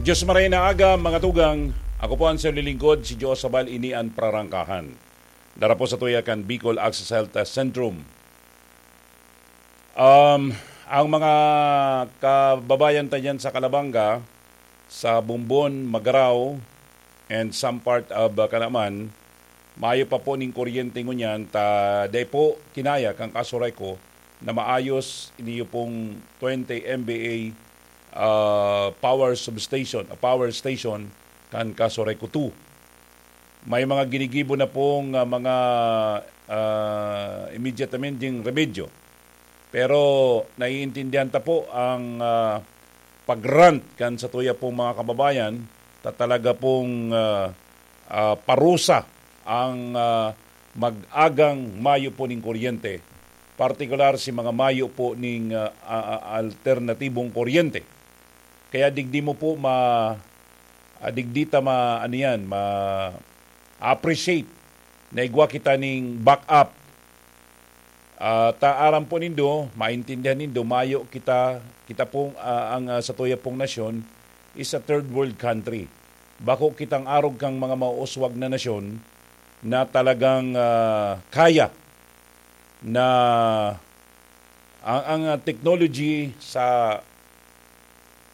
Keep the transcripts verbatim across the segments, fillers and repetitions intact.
Diyos maray na aga, mga tugang. Ako po ang siyang lilingkod, si Joe Sabal, ini an Prarangkahan. Dara po sa tuya kan Bicol Access Health Centrum. Um, ang mga kababayan ta dyan sa Calabanga, sa Bumbon, Magarao, and some part of uh, Canaman, mayo pa po ning kuryente ngunyan, ta dai po kinaya kan Casureco na maayos iniyo pong twenty M V A ah, power substation, ah, power station kan Casureco two. May mga ginigibo na pong ah, mga ah, immediatamente remedyo. Pero naiintindihan ta po ang ah, pag-rant kan satuya pong mga kababayan, ta talaga pong ah, ah, parusa ang ah, mag-agang mayo po ning kuryente, partikular si mga mayo po ning ah, ah, ah, alternatibong kuryente. Kaya digdi mo po ma ah, digdi ta ma ano yan, ma-appreciate na igwa kita ning backup. Ah, ta aram po nindo, maintindihan nindo, mayo kita, kita pong ah, ang ah, satuya pong nasyon is a third world country. Bako kitang arog kang mga mauuswag na nasyon na talagang ah, kaya na ang, ang ah, technology sa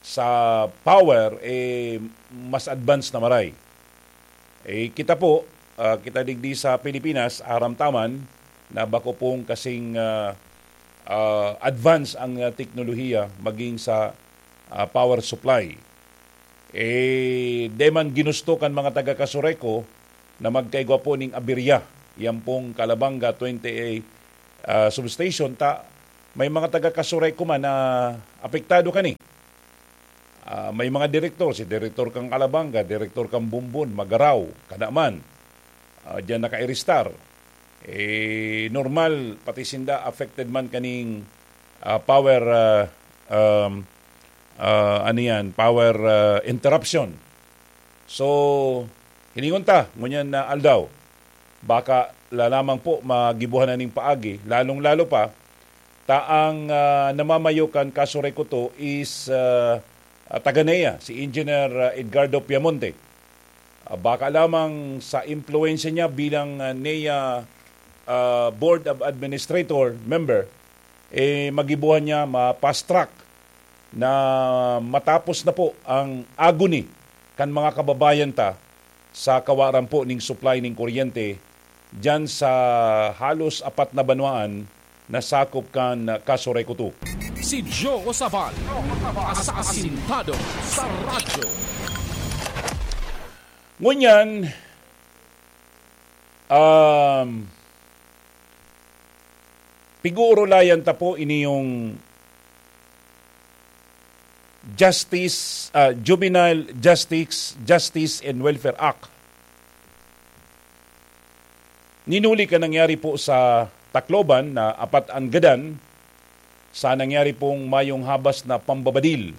sa power eh mas advanced na maray. Eh, kita po, ah, kita digdi sa Pilipinas, aram ta man na bako pong kasing ah, ah, advance ang ah, teknolohiya maging sa ah, power supply. Eh, di man ginusto kan mga taga Casureco na magkaigwa po ning aberya. Yan pong Calabanga twenty A ah, substation, ta may mga taga Casureco man na apektado kani. Ah, may mga direktor, si direktor kang Calabanga, direktor kang Bumbon, Magarao, kada man, ah, diyan nakairistar. Eh, normal, pati sinda affected man kaning ah, power, ah, um, ah, ano yan, power ah, interruption. So, hilingon ta, ngunyan na aldaw, baka la lamang po magibuhan na ning paagi, lalong-lalo pa, ta ang ah, namamayo kan Casureco two is ah, ah, taga N E A, si Engineer ah, Edgardo Piamonte. Ah, baka lamang sa impluwensya niya bilang ah, N E A ah, Board of Administrator member, eh, magibuhan niya ma-fast track na matapos na po ang agony kan mga kababayan ta sa kawaran po ning supply ning kuryente diyan sa halos apat na banwaan na sakop kan Casureco two. Si Joe Sabal, asasintado sa radyo. Ngunyan, um, pig-uurulayan ta po ini yung Justice, ah, Juvenile Justice, Justice and Welfare Act. Ninuli ka nangyari po sa Tacloban na apat ang gadan sa nangyari pong mayong habas na pambabadil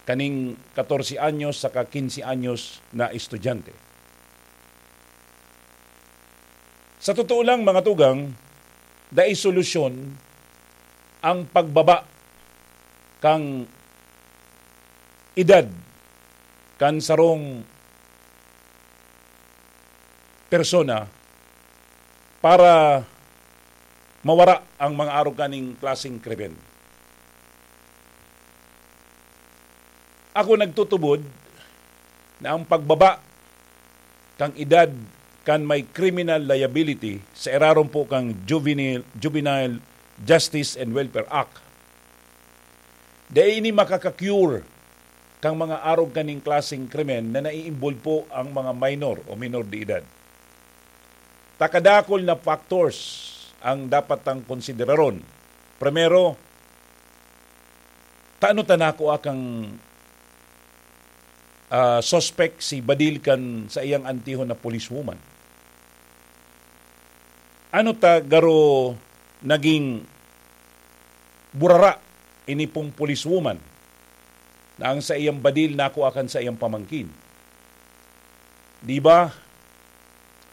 kaning katorse anyos saka kinse anyos na estudyante. Sa totoo lang, mga tugang, dai solusyon ang pagbaba kan edad kan sarong persona para mawara ang mga arog kaning klaseng krimen. Ako nagtutubod na ang pagbaba kan edad kan may criminal liability sa irarom po kan Juvenile, Juvenile Justice and Welfare Act, dai ini makaka-cure kan mga arog kaning klaseng krimen na nai-involve po ang mga minor o minor de edad. Ta kadakul na factors ang dapat tang konsideraron. Primero, tano ta nakua kang ah, suspect si Badil kan sa iyang antihon na policewoman. Ano ta garo naging burara ini pong policewoman na ang sa iyang Badil nakua kan sa iyang pamangkin? Di ba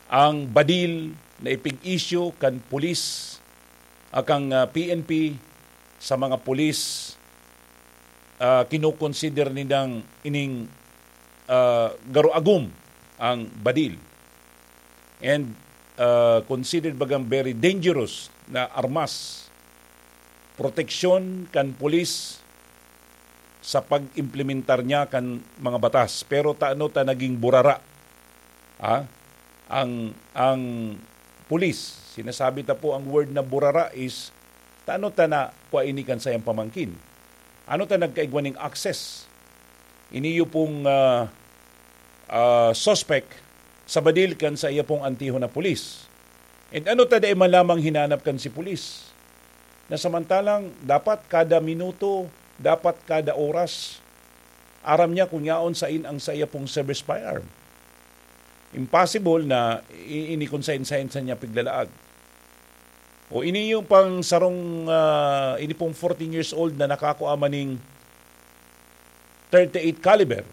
ang Badil na ipig-issue kan pulis, akang ah, P N P sa mga pulis, ah, kinokonsider nindang ining ah, garo agom ang badil. And, ah, considered bagang very dangerous na armas. Proteksyon kan pulis sa pag-implementar niya kan mga batas. Pero tano ta naging burara, ah, ang, ang pulis? Sinasabi ta po ang word na burara is tano ta na kua ini kan sayang pamangkin. Ano ta nagkaigwa ning access? Iniyo pong, ah, ah, suspect sa badil kan sa iya pong antiho na pulis. And ano ta dai man lamang hinanap kan si pulis? Na samantalang dapat kada minuto, dapat kada oras, aram niya kung yaon sain ang sa iya pong service firearm. Impossible na i-, ini kung sain-sain sa niya piglalaag. O ini yung pang sarong, ah, ini pong fourteen years old na nakakua maning thirty-eight caliber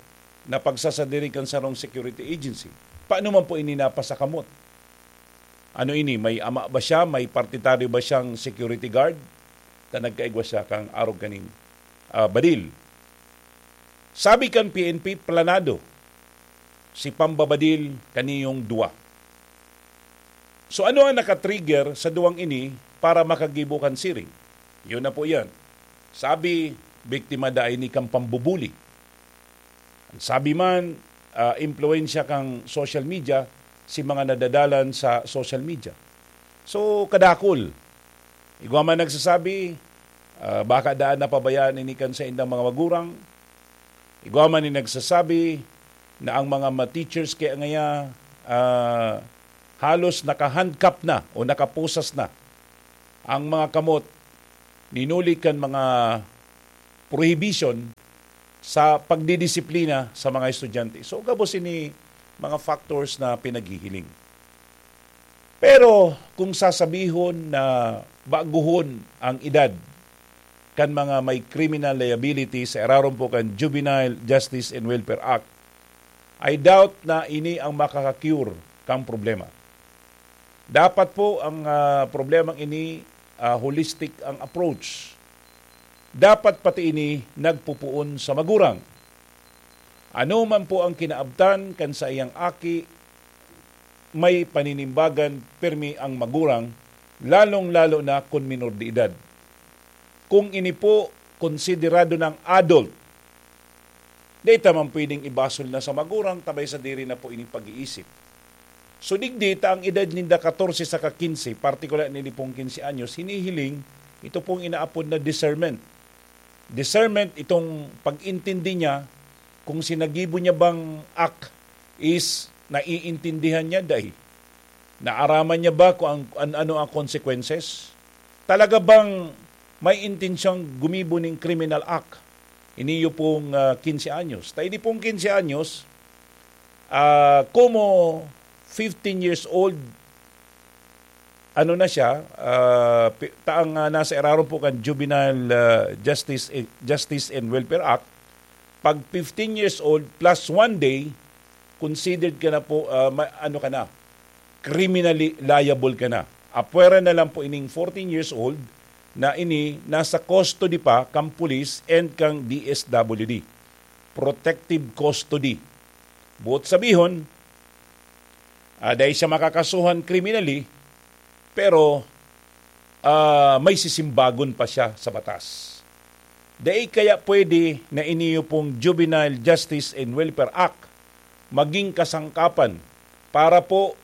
na pagsasadiri kan sarong security agency. Paano man po ini napasakamot? Ano ini? May ama ba siya? May partitaryo ba siyang security guard? Ta nagkaigwa siya kang arog kaning, ah, badil. Sabi kan P N P, planado si pambabadil kaniyong duwa. So, ano ang nakatrigger sa duwang ini para makagibo kan siring? Yun na po yan. Sabi, biktima da ini kan pambubuli. Ang sabi man, ah, impluwensya kan social media, si mga nadadalan sa social media. So, kadakul. Igwa man nagsasabi, ah, baka daan napabayaan ini kan saindang mga magurang. Igwa man ni nagsasabi na ang mga ma-teachers kaya ngaya, ah, halos naka-handcuff na o nakapusas na ang mga kamot, ninuli kan mga prohibition sa pagdidisiplina sa mga estudyante. So, gabos ini mga factors na pinaghihiling. Pero kung sasabihon na baguhon ang edad kan mga may criminal liability sa irarom po kan Juvenile Justice and Welfare Act, I doubt na ini ang makaka-cure kang problema. Dapat po ang, ah, problemang ini, ah, holistic ang approach. Dapat pati ini nagpupuon sa magurang. Ano man po ang kinaabtan kan saiyang aki, may paninimbagan pirmi ang magurang, lalong-lalo na kun minor de edad. Kung ini po konsiderado ng adult, dai ta man pwedeng ibasol na sa magurang, tabay sa diri na po ining pag-iisip. So, digdi ta ang edad ninda katorse saka kinse, partikular nini pong kinse anyos, hinihiling ito pong inaapod na discernment. Discernment, itong pag-intindi niya kung sinagibo niya bang act is naiintindihan niya, dai. Naaraman niya ba kung ang, an-, ano ang consequences? Talaga bang may intensyong gumibo ning criminal act? Iniyo pong, ah, kinse anyos. Ta ini pong kinse anyos, ah, komo fifteen years old, ano na siya, ah, pi-, ta ang, ah, nasa irarom po kan Juvenile, ah, Justice, eh, Justice and Welfare Act, pag fifteen years old plus one day, considered ka na po, ah, ma-, ano ka na, criminally liable ka na. Apwera na lang po ining fourteen years old na ini nasa custody pa kang pulis and kang D S W D. Protective custody. Buot sabihon, ah, dai siya makakasuhan criminally, pero, ah, may sisimbagon pa siya sa batas. Dai kaya pwede na iniyo pong Juvenile Justice and Welfare Act maging kasangkapan para po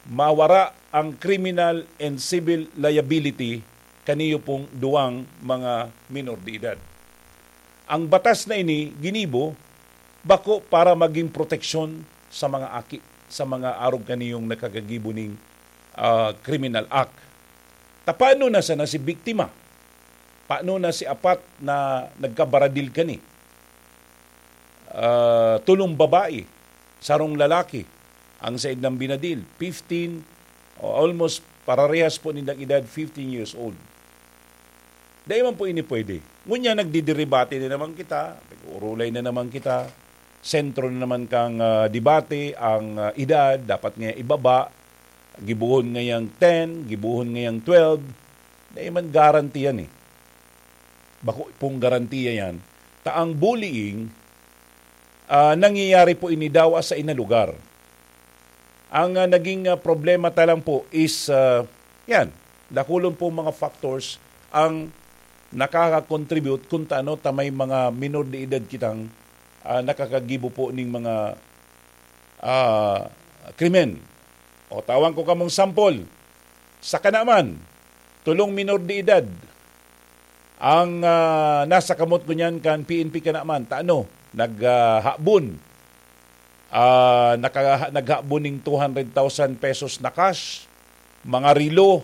mawara ang criminal and civil liability kaniyo pong duwang mga minor de edad. Ang batas na ini ginibo bako para maging proteksyon sa mga aki, sa mga arog kaniyong nakagagibo ning, ah, criminal act. Ta paano na sana si biktima? Paano na si apat na nagkabaradil kani? Ah, tulong babae, sarong lalaki, ang said ng binadil, fifteen, o almost pararehas po nindang edad, fifteen years old. Dai man po ini pwede. Ngunyan, nagdidiribate na naman kita, nag-uurulay na naman kita, sentro na naman kang, ah, debate ang, ah, edad, dapat nga ibaba, gibuhon ngayang ten, gibuhon ngayang twelve, dai man garantiya yan eh. Bako pong garantiya yan. Ta ang bullying, Ah, nangyayari po ini daw sa ina lugar. Ang, ah, naging, ah, problema ta lang po is, ah, yan, dakulon po mga factors ang nakaka-contribute kung taano ta may mga minor de edad kitang, ah, nakakagibo po ning mga, ah, krimen. O, tawan ko kamong sample. Sa Kanaman, tolong minor de edad ang, ah, nasa kamot ngunyan kan P N P Kanaman. Ta ano, nag, ah, habon. Ah, naka-, naghabon ning two hundred thousand pesos na cash, mga relo,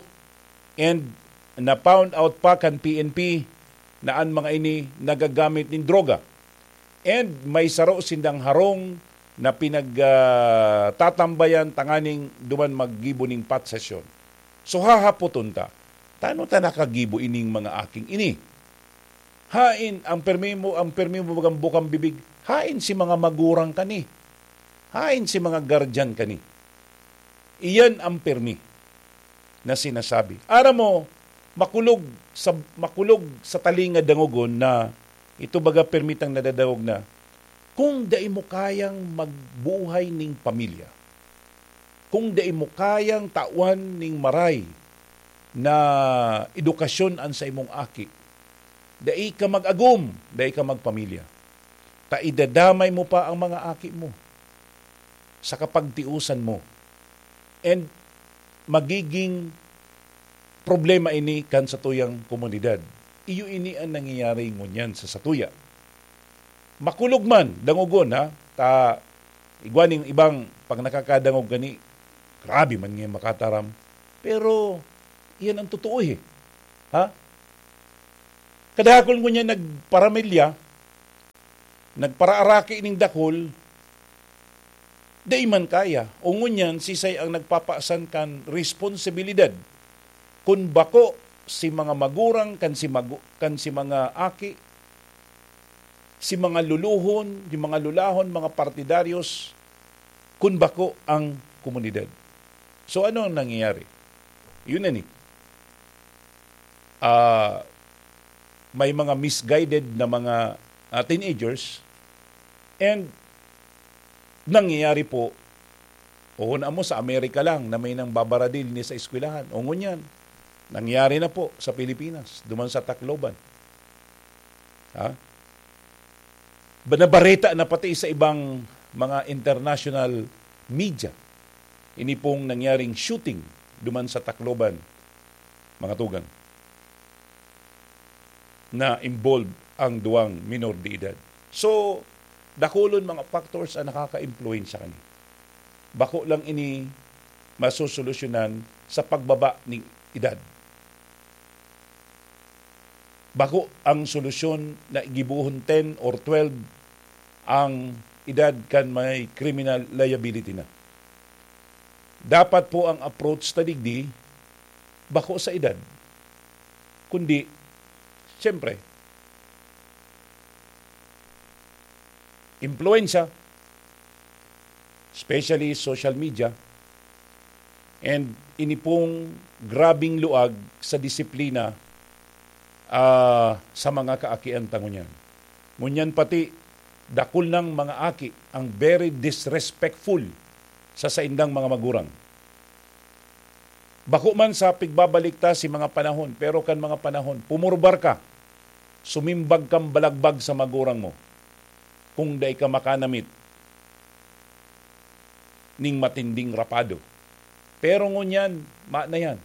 and na-found out pa kan P N P na an mga ini nagagamit nin droga. And may saro sindang harong na pinag, ah, tatambayan tanganing duman maggibo ning possession. So, hahapoton ta, "Tano ta nakagibo ining mga aking ini?" Hain ang permi mo, ang permi mo bagang bukang bibig, hain si mga magurang kani? Hain si mga guardian kani? Iyan ang permi na sinasabi. Aram mo, makulog sa, makulog sa talinga dangogon na ito baga permitang nadadangog na, kung dai mo kayang magbuhay ning pamilya, kung dai mo kayang tawan ning maray na edukasyon an sa imong aki, dai ka mag-agom, dai ka magpamilya. Ta idadamay mo pa ang mga aki mo sa kapagtiusan mo. And magiging problema ini kan satuyang komunidad. Iyo ini an nangyayari ngunyan sa satuya. Makulog man, dangogon, ha? Ta, igwa ning ibang pag nakakadangog gani, grabe man nga makataram. Pero, iyan ang totoo, eh. Ha? Kadakul ngunyan nagparamilya, nagparaaraki ning dakul, dai man kaya. O ngunyan, sisay ang nagpapasan kan responsibilidad? Kun bako si mga magurang kan si magu-, kan si mga aki, si mga luluhon, si mga lulahon, mga partidaryos, kun bako ang komunidad. So, ano ang nangyayari? Yun na ni. Ah, may mga misguided na mga, ah, teenagers, and nangyayari po, o na mo sa Amerika lang na may nang babaradil ni sa eskwelahan. O ngunyan, nangyayari na po sa Pilipinas, duman sa Tacloban. Ha? Ba-, nabareta na pati sa ibang mga international media. Ini pong nangyaring shooting duman sa Tacloban, mga tugang, na involved ang duwang minor de edad. So, dakulon mga factors ang nakaka-impluwensya kani. Bako lang ini masosolusyonan sa pagbaba ning edad. Bako ang solusyon na gibohon ten or twelve ang edad kan may criminal liability na. Dapat po ang approach ta digdi, bako sa edad, kundi, siyempre, impluwensya, especially social media, and ini pong grabing luag sa disiplina, ah, sa mga kaakian ta ngunyan. Ngunyan pati, dakul nang mga aki ang very disrespectful sa saindang mga magurang. Bako man sa pigbabalik ta si mga panahon, pero kan mga panahon, pumurbar ka, sumimbag kang balagbag sa magurang mo, kung dai ka makanamit ning matinding rapado. Pero ngunyan, ma na yan.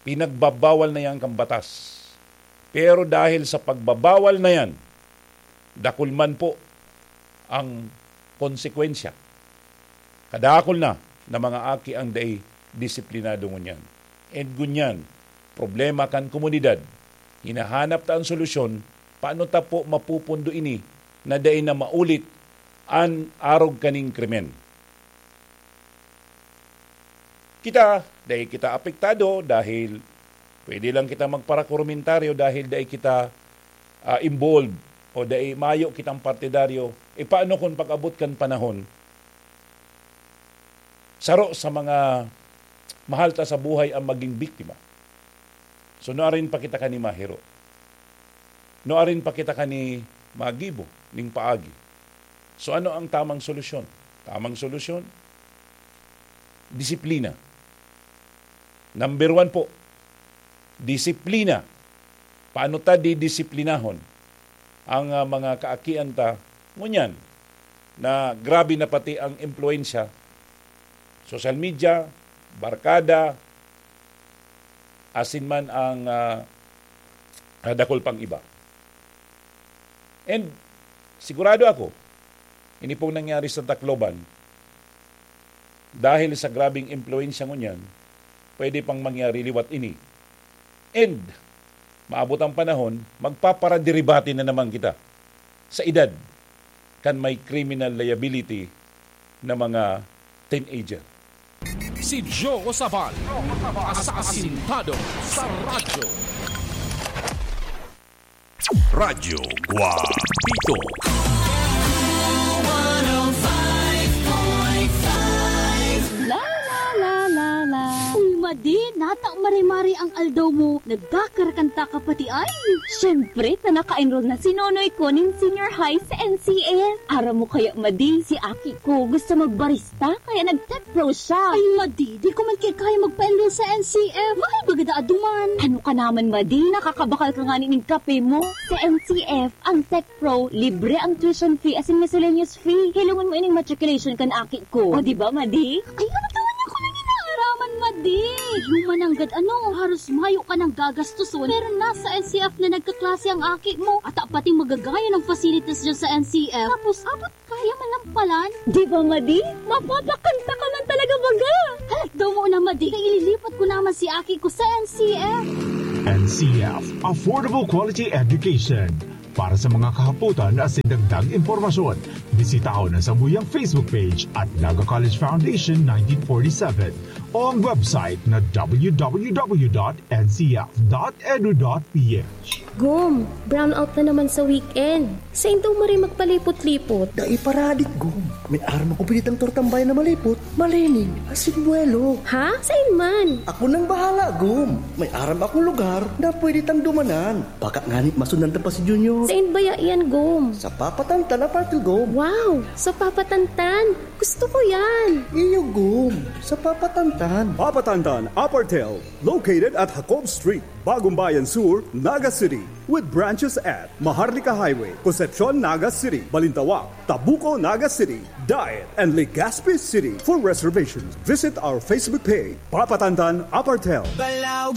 Pinagbabawal na yan kan batas. Pero dahil sa pagbabawal na yan, dakul man po ang konsekwensya. Kadakul na na mga aki ang dai disiplinado ngunyan. And ngunyan, problema kan komunidad. Hinahanap ta an solusyon, paano ta po mapupundo ini na dai na maulit an arog kaning krimen? Kita, dai kita apektado dahil pwede lang kita magparakomentaryo dahil dai kita, ah, involved o dai mayo kitang partidaryo. E, paano kung pag-abot kan panahon, saro sa mga mahal ta sa buhay ang maging biktima? So, nuarin pa kita kani mahiro? Nuarin pa kita kani magibo ning paagi? So ano ang tamang solusyon? Tamang solusyon, disiplina. Number one po, disiplina. Paano ta didisiplinahon ang, ah, mga kaakian ta ngunyan na grabe na pati ang impluwensya, social media, barkada, asin man ang, ah, ah, dakul pang iba. And sigurado ako, ini pong nangyari sa Tacloban, dahil sa grabeng impluwensya ngunyan, pwede pang mangyari liwat ini. And maabot ang panahon, magpaparaderibate na naman kita sa edad kan may criminal liability na mga teenager. Si Joe Sabal, asasintado sa radyo. Radyo Guapito. La, la, la, la, la. Uy, Madi, nata mare-mare ang aldaw mo. Nagkakarakanta ka pati ay. Siyempre, ta naka-enroll na si Nonoy ko nin senior high sa N C F. Aram mo kaya, Madi, si aki ko gusto magbarista, kaya nag-tech pro siya. Ay, Madi, di ko man kaya magpa-enroll sa N C F. Mahal baga daa duman. Ano ka naman, Madi? Nakakabakal ka ngani nin kape mo. Sa N C F, ang tech pro, libre ang tuition fee asin miscellaneous fee. Hilongon mo ining matriculation kan aki ko. O, di ba, Madi? Ay, ano ka man ako nang inaaraman, Madi? Human nanggad ano, haros mayo ka nang gagastoson. Pero nasa N C F na nagkaklase ang aki mo. At pating magagayon ang facilities dyan sa N C F. Tapos, abot kaya man lang palan. Di ba, Madi? Mapapakanta ka man talaga baga. Halat daw mo na, Madi. Kaya ililipat ko naman si aki ko sa N C F. N C F, Affordable Quality Education. Para sa mga kahapotan asin dagdag impormasyon, bisitahon ang samuyang Facebook page at Naga College Foundation nineteen forty-seven o ang website na www.ncf.edu.ph. Gom, brownout na naman sa weekend. Sain daw maray magpalipot-lipot? Dai paradik, Gom. May aram ako pinitang tortang bayan na malipot, malining, asin buwelo. Ha? Sain man? Ako nang bahala, Gom. May aram akong lugar na pwede tang dumanan. Baka ngani masundan ta pa si Junior. Sain baya iyan, Gom? Sa papatantan na partil, Gom. Wow! Sa papatantan? Gusto ko yan! Iyo, Gom. Sa papatantan. Papatantan Apartel, located at Jacob Street, Bagumbayan Sur, Naga City. With branches at Maharlika Highway, Concepcion, Naga City, Balintawak, Tabuco, Naga City, Daet, and Legazpi City. For reservations, visit our Facebook page, Papatantan Apartel. Balaog